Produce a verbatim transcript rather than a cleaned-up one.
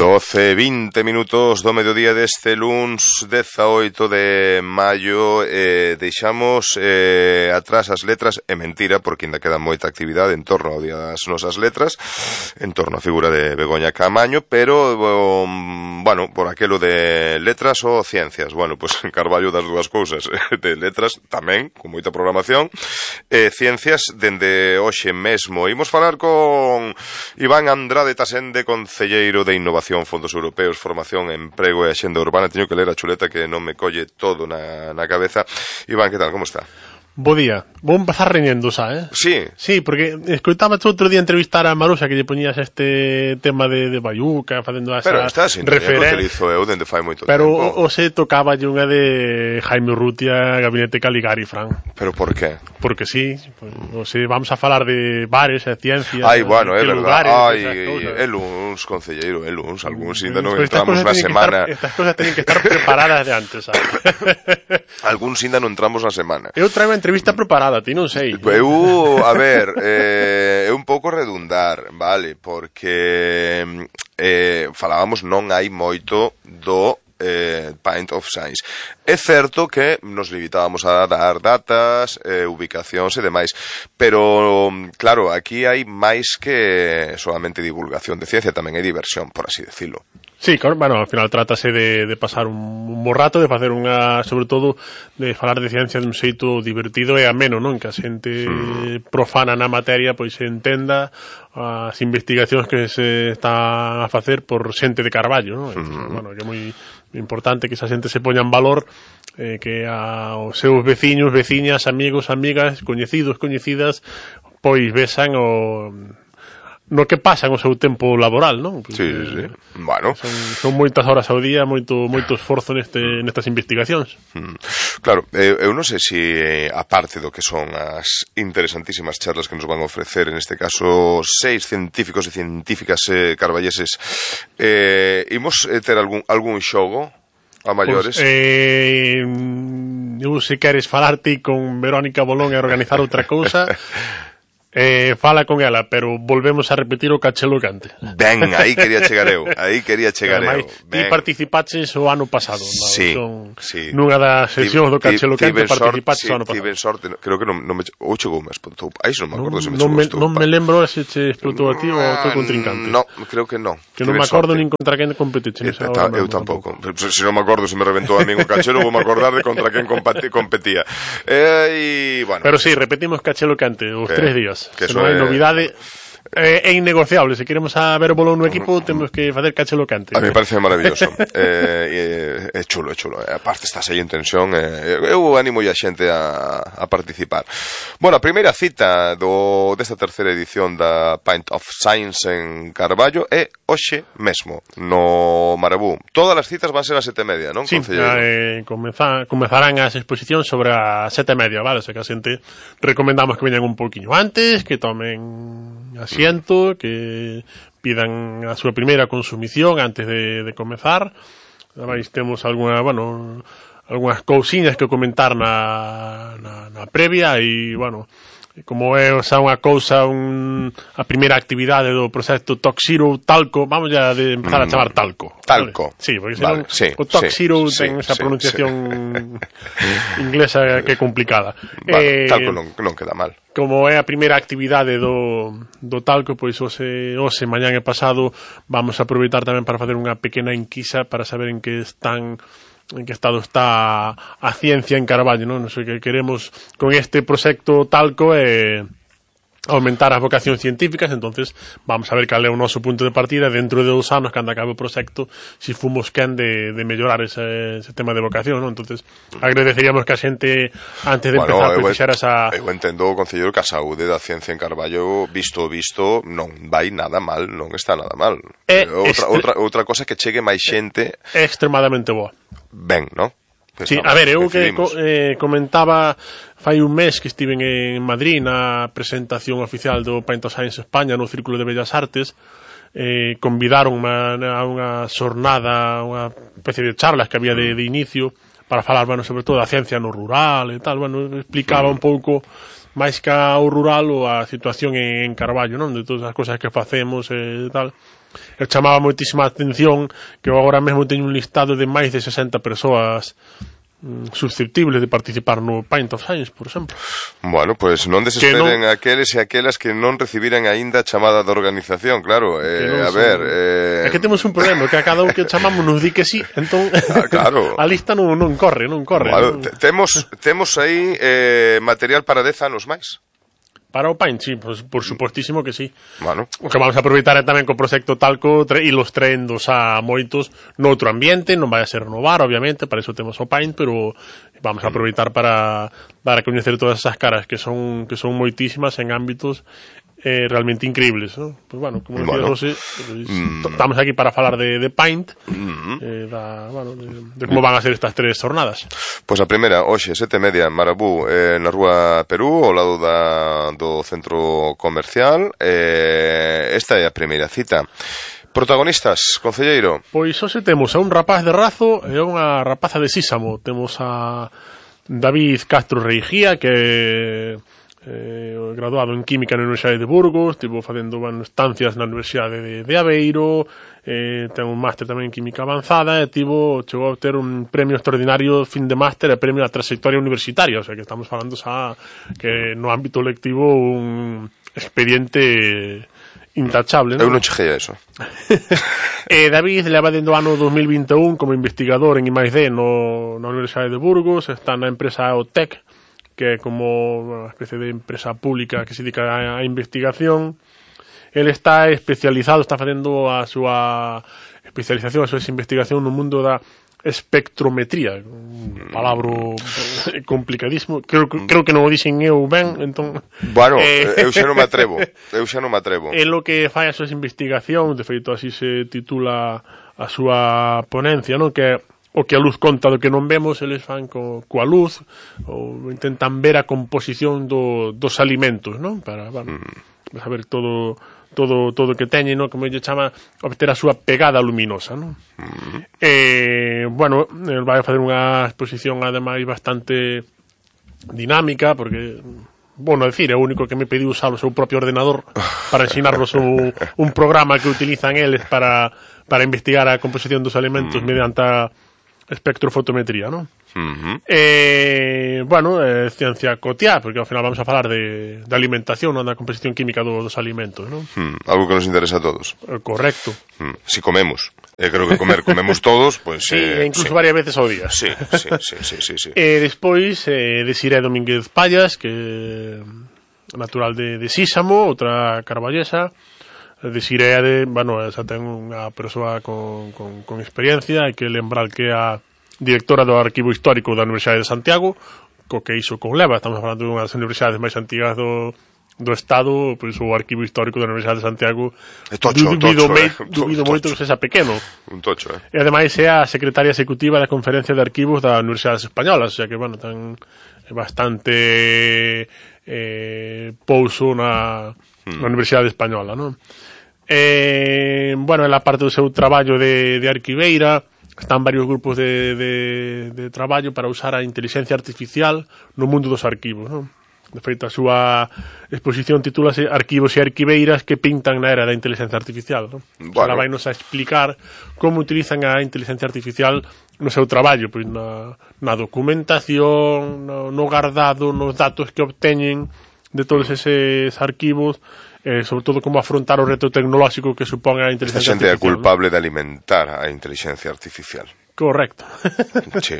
doce, vinte minutos do mediodía deste luns dezaoito de maio. eh, Deixamos eh, atrás as letras. É mentira, porque ainda queda moita actividade en torno ao día das nosas letras, en torno á figura de Begoña Caamaño. Pero, um, bueno, por aquelo de letras ou ciencias, bueno, pois pues, Carballo das dúas cousas. De letras tamén, con moita programación, eh, ciencias dende hoxe mesmo. Imos falar con Iván Andrade Tasende, concelleiro de Innovación, Fondos Europeos, Formación, Emprego e Axenda Urbana. Teño que ler a chuleta que non me colle todo na, na cabeza. Iván, que tal, como está? Bo día. Vou empezar reñendo, xa, eh? Sí. Sí, porque escoitaba outro día entrevistar a Maruxa, que lle poñías este tema de, de Bayuca, facendo esa pero está sin referencia. Pero utilizo eu dende fai moito pero tempo. Pero o se tocaba unha de Jaime Urrutia, Gabinete Caligari, Fran. Pero por qué? Porque sí, o se vamos a falar de bares e ciencias. Ai, bueno, é verdade. Ai, é luns, concelleiro, é luns, algúns ainda non entramos na semana. Estar, estas cosas teñen que estar preparadas de antes, sabes? Algúns ainda non entramos na semana. Eu traigo entrevista preparada, ti non sei. Eu, a ver, eh, é un pouco redundar, vale, porque eh, falábamos non hai moito do eh, Pint of Science. É certo que nos limitábamos a dar datas, eh, ubicacións e demais, pero, claro, aquí hai máis que solamente divulgación de ciencia, tamén hai diversión, por así decirlo. Sí, claro, bueno, ao final trátase de, de pasar un, un bo rato, de facer unha, sobre todo, de falar de ciencia dun xeito divertido e ameno, non? Que a xente mm. profana na materia, pois se entenda as investigacións que se está a facer por xente de Carballo, non? Entón, mm. bueno, que é moi importante que esa xente se poña en valor, eh, que a, os seus veciños, veciñas, amigos, amigas, coñecidos, coñecidas, pois besan o... no que pasan o seu tempo laboral, non? Porque, sí, sí, sí. Bueno. Son, son moitas horas ao día, moito moito esforzo neste, nestas investigacións. Mm. Claro, eu, eu non sei se, eh, aparte do que son as interesantísimas charlas que nos van a ofrecer, en este caso, seis científicos e científicas eh, carballeses, eh, imos eh, ter algún, algún xogo a maiores? Pues, eh, eu se queres falarte con Verónica Bolón e organizar outra cousa... Eh, fala con ela, pero volvemos a repetir o cachelo cante. Ben, aí quería chegar eu, aí quería chegar eu. Ti participaches o ano pasado, no? Sí, Son, sí. Nunha das sesións do cachelo cante participaches sí, o ano pasado. Tiven sorte, creo que non, non me ou chegou me explotou. Aí non me acordo se me non chegou. Non me lembro se che explotou a ti ou ao teu contrincante. No, creo que non. Que non me acordo nin contra quen competiche nesa hora. Eu tampouco. Se non me acordo se me reventou a min o cachelo, vou me acordar de contra quen competía. E, bueno. Pero sí, repetimos cachelo cante os tres días. Que non hai novidade. É, é innegociable, se queremos a ver o bolón no equipo temos que facer cachelo cante. A mí me parece maravilloso. eh, é chulo, é chulo. Aparte estás aí en tensión, eh, eu animo a xente a, a participar. Bueno, a primeira cita do desta terceira edición da Pint of Science en Carballo é hoxe mesmo, no Marabú. Todas as citas van ser a sete e media, non? Sí, eh, comeza, comezarán as exposicións sobre a sete e media, vale? O sea que a xente recomendamos que veñan un pouquiño antes, que tomen asiento, que pidan a súa primeira consumición antes de, de comezar. Ademais temos alguna, bueno, algunhas cousiñas que comentar na, na, na previa e, bueno, como é xa unha cousa, un, a primeira actividade do proxecto Toxiro Talco, vamos ya de empezar a chamar Talco. Talco. Vale? Sí, porque senón vale, sí, o Toxiro sí, ten sí, esa sí, pronunciación sí. inglesa que é complicada. Vale, eh, talco non, non queda mal. Como é a primeira actividade do, do Talco, pois hoxe, hoxe, mañán e pasado vamos a aproveitar tamén para facer unha pequena enquisa para saber en que están en que estado está a ciencia en Carballo, non? Non sei que queremos con este proxecto Talco é aumentar as vocacións científicas, entonces vamos a ver cal é o noso punto de partida dentro de dos anos, cando acabe o proxecto, si fomos quen de, de mellorar ese, ese tema de vocación, non? Entonces agradeceríamos que a xente antes de bueno, empezar eu, fixera esa... Eu entendo, concelleiro, que a saúde da ciencia en Carballo, visto visto, non vai nada mal, non está nada mal. É outra, estre... outra, outra cosa que chegue máis xente... É extremadamente boa. Ben, non? Sí, a ver, eu que co, eh, comentaba fai un mes que estiven en Madrid na presentación oficial do Pint of Science España no Círculo de Bellas Artes, eh, convidaron a unha xornada, unha especie de charlas que había de, de inicio para falar, bueno, sobre todo da ciencia no rural e tal, bueno, explicaba un pouco máis que ao rural ou a situación en Carballo, non? De todas as cosas que facemos e tal. eu chamaba moitísima atención que eu agora mesmo teño un listado de máis de sesenta persoas susceptibles de participar no Paint of Science, por exemplo. Bueno, pois pues non desesperen non... aqueles e aquelas que non recibiran aínda a chamada da organización, claro, eh, a ver... Eh... É que temos un problema, que a cada un que chamamos nos di que sí, entón ah, claro. a lista non, non corre, non corre. Bueno, non... Temos, temos aí eh, material para dez anos máis. Para o Paint, sí, pues, por supostísimo que sí. Bueno. O que vamos a aproveitar é tamén co proxecto Talco e los trendos a moitos noutro ambiente, non vai a ser renovar, obviamente, para iso temos o Paint, pero vamos a aproveitar para para coñecer todas esas caras que son que son moitísimas en ámbitos eh, realmente increíbles, ¿no? Pues bueno, como decía bueno. José, pues, mm. estamos aquí para falar de, de Paint, mm. eh, da, bueno, de, de como van a ser estas tres jornadas. Pois pues a primeira, hoxe, sete e media, Marabú, eh, na Rúa Perú, ao lado da, do centro comercial. Eh, esta é a primeira cita. Protagonistas, concelleiro? Pois hoxe temos a un rapaz de Razo e unha rapaza de Sísamo. Temos a David Castro Reigía, que eh, graduado en Química na Universidade de Burgos, estivo facendo bueno, estancias na Universidade de, de Aveiro, eh, ten un máster tamén en Química Avanzada e tivo, chegou a ter un premio extraordinario fin de máster e premio a trayectoria universitaria, o sea que estamos falando xa que no ámbito lectivo un expediente intachable, ¿no? Eu non cheguei a eso. eh, David leva dentro do ano dos mil vinte e un como investigador en I máis D no, na Universidade de Burgos, está na empresa OTEC, que é como unha especie de empresa pública que se dedica a, a investigación. El está especializado, está facendo a súa especialización, a súa investigación no mundo da espectrometría, un palabro complicadísimo, creo, creo que non o dixen eu ben, entón... Bueno, eh, eu xa non me atrevo, eu xa non me atrevo. É lo que fai a súa investigación, de feito así se titula a súa ponencia, non? Que o que a luz conta do que non vemos, eles fan co, coa luz, ou intentan ver a composición do, dos alimentos, non? Para, bueno, mm. saber todo... todo todo que teñen, ¿no? Como lle chama, obter a súa pegada luminosa, ¿no? Mm. Eh, bueno, el vai a facer unha exposición ademais bastante dinámica, porque, bueno, decir, é o único que me pediu usar o seu propio ordenador para ensinarnos un, un programa que utilizan eles para, para investigar a composición dos alimentos mm. mediante a espectrofotometría, ¿no? Uh-huh. Eh, bueno, eh, ciencia cotiá, porque ao final vamos a falar de, de alimentación, non da composición química do, dos alimentos, non? Hmm, algo que nos interesa a todos. Eh, correcto. Hmm, si comemos, eh, creo que comer comemos todos, pues, sí, eh, incluso sí. varias veces ao día. Sí, sí, sí, sí, sí, sí. Eh, despois, eh, Desiré Domínguez Payas, que natural de, de Sísamo, outra carballesa. Desiré, de, bueno, esa ten unha persoa con, con, con experiencia, hai que lembrar que a directora do Arquivo Histórico da Universidade de Santiago, co que iso conleva, estamos falando de unha das universidades máis antigas do, do Estado, pois o Arquivo Histórico da Universidade de Santiago é tocho, dubido, tocho, me, eh. dubido moito que sexa pequeno. Un tocho, eh. E ademais é a secretaria executiva da Conferencia de Arquivos da Universidades Españolas, o sea que, bueno, ten bastante eh, pouso na, hmm. na Universidade Española, non? Eh, bueno, en la parte do seu traballo de, de arquiveira, están varios grupos de, de, de traballo para usar a inteligencia artificial no mundo dos arquivos, non? De feito, a súa exposición titúlase Arquivos e arquiveiras que pintan na era da inteligencia artificial, non? Bueno. Ela vai nos a explicar como utilizan a inteligencia artificial no seu traballo, pois na, na documentación, no, no guardado, nos datos que obteñen de todos eses arquivos, eh, sobre todo como afrontar o reto tecnolóxico que supón a inteligencia artificial. A xente artificial, é culpable, ¿no?, de alimentar a inteligencia artificial. Correcto. Sí,